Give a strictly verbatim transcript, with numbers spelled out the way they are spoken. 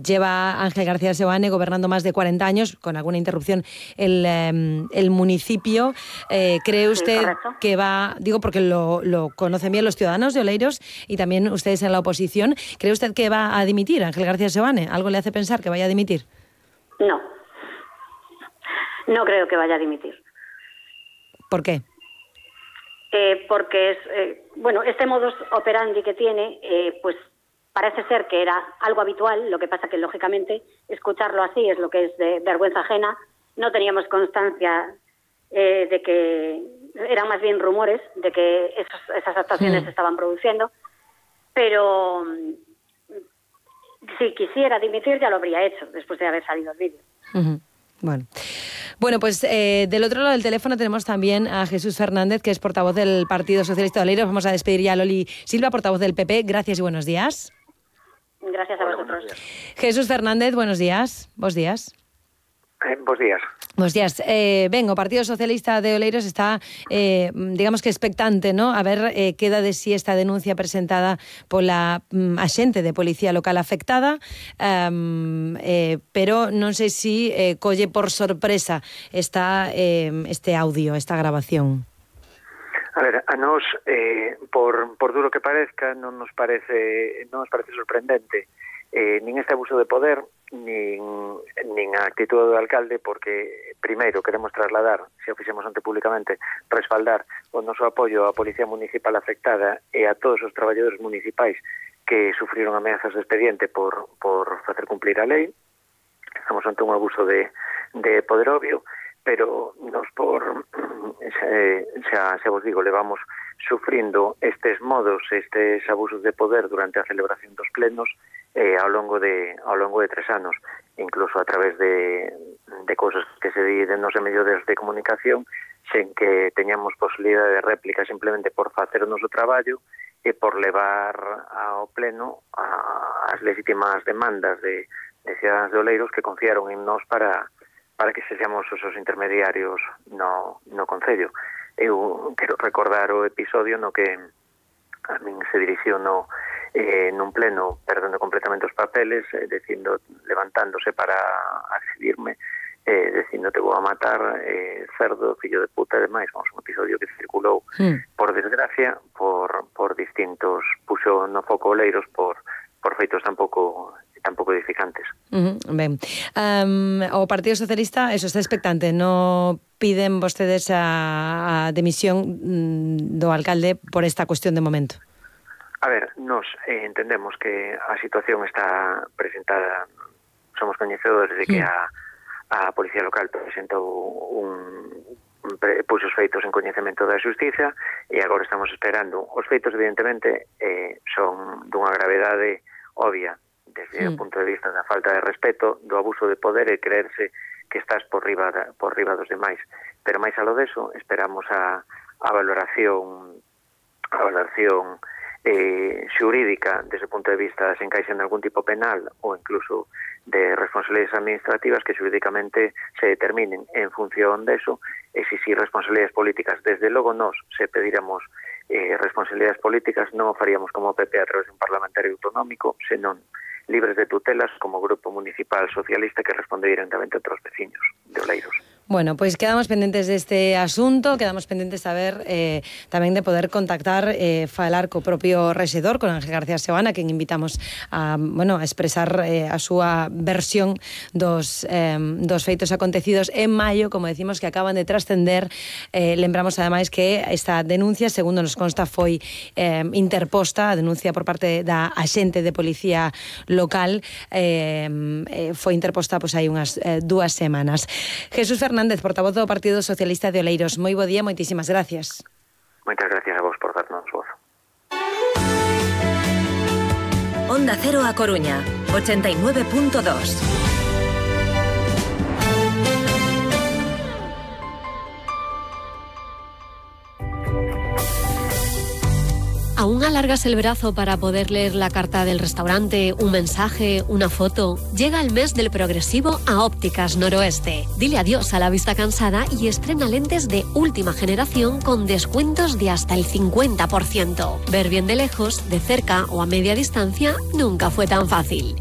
lleva Ángel García Seoane gobernando más de cuarenta años, con alguna interrupción, el, eh, el municipio. Eh, ¿Cree usted sí, que va, digo porque lo, lo conocen bien los ciudadanos de Oleiros y también ustedes en la oposición, ¿cree usted que va a dimitir Ángel García Seoane? ¿Algo le hace pensar que vaya a dimitir? No. No creo que vaya a dimitir. ¿Por qué? Eh, porque es, eh, bueno, este modus operandi que tiene, eh, pues parece ser que era algo habitual, lo que pasa que lógicamente escucharlo así es lo que es de vergüenza ajena. No teníamos constancia eh, de que eran más bien rumores de que esos, esas actuaciones sí. se estaban produciendo, pero si quisiera dimitir ya lo habría hecho después de haber salido el vídeo. Uh-huh. Bueno. Bueno, pues eh, del otro lado del teléfono tenemos también a Jesús Fernández, que es portavoz del Partido Socialista de Oleiros. Vamos a despedir ya a Loli Silva, portavoz del P P. Gracias y buenos días. Gracias a vosotros. Jesús Fernández, buenos días. Bos días. Eh, bos días. Bos días. Eh, ben, o Partido Socialista de Oleiros está, eh, digamos que expectante, ¿no? A ver eh, queda de si esta denuncia presentada pola mm, axente de Policía Local afectada, um, eh, pero non sei si eh, colle por sorpresa esta, eh, este audio, esta grabación. A ver, a nós, eh, por, por duro que parezca, non nos parece, non nos parece sorprendente eh, nin este abuso de poder, nin, nin a actitud do alcalde, porque primeiro queremos trasladar, se o fixemos ante públicamente, respaldar o noso apoio á Policía Municipal afectada e a todos os traballadores municipais que sufriron ameazas de expediente por, por facer cumplir a lei. Estamos ante un abuso de, de poder obvio, pero nos por xa, xa, xa vos digo, levamos sufrindo estes modos, estes abusos de poder durante a celebración dos plenos eh, ao longo de ao longo de tres anos, incluso a través de, de cousas que se di de nos medios de comunicación, sen que teñamos posibilidade de réplica simplemente por facer o noso traballo e por levar ao pleno a, as legítimas demandas de, de cidadanos de Oleiros que confiaron en nós para para que sexamos os intermediarios no, no Concello. Eu quero recordar o episodio no que a min se dirixiu no, eh, nun pleno perdendo completamente os papeles, eh, dicindo, levantándose para exhibirme, eh, dicindo te vou a matar, eh, cerdo, fillo de puta e demais. Vamos, un episodio que circulou, mm. por desgracia, por, por distintos, puxo no foco Oleiros por, por feitos tampouco tampouco edificantes. Uh-huh, ben. Um, o Partido Socialista, eso, está expectante. No piden vostedes a, a demisión mm, do alcalde por esta cuestión de momento. A ver, nos eh, entendemos que a situación está presentada, somos coñecedores de que mm. a, a Policía Local presentou un, un puxos feitos en coñecemento da Xustiza e agora estamos esperando. Os feitos, evidentemente, eh, son dunha gravedade obvia desde sí. o punto de vista da falta de respeto, do abuso de poder e creerse que estás por riba da, por riba dos demais. Pero máis alo deso, esperamos a, a valoración a valoración eh, xurídica desde o punto de vista se encaixa en algún tipo penal ou incluso de responsabilidades administrativas que xurídicamente se determinen en función deso e se si responsabilidades políticas. Desde logo nós se pediramos eh, responsabilidades políticas non o faríamos como P P a través de un parlamentario autonómico, senón libres de tutelas como Grupo Municipal Socialista que responde directamente a outros veciños de Oleiros. Bueno, pois pues quedamos pendentes deste asunto, quedamos pendentes a ver eh, tamén de poder contactar, eh, falar co propio rexedor, con Ángel García Seoane, a quen invitamos a, bueno, a expresar eh, a súa versión dos, eh, dos feitos acontecidos en maio, como decimos, que acaban de trascender. Eh, lembramos ademais que esta denuncia, segundo nos consta, foi eh, interposta, a denuncia por parte da axente de Policía Local, eh, eh, foi interposta pois, hai unhas eh, dúas semanas. Jesús Fernández Fernández, portavoz do Partido Socialista de Oleiros. Moi bo día, moitísimas gracias. Moitas gracias a vos por darnos voz. Onda Cero a Coruña, ochenta y nueve punto dos. ¿Aún alargas el brazo para poder leer la carta del restaurante, un mensaje, una foto? Llega el mes del progresivo a Ópticas Noroeste. Dile adiós a la vista cansada y estrena lentes de última generación con descuentos de hasta el cincuenta por ciento. Ver bien de lejos, de cerca o a media distancia nunca fue tan fácil.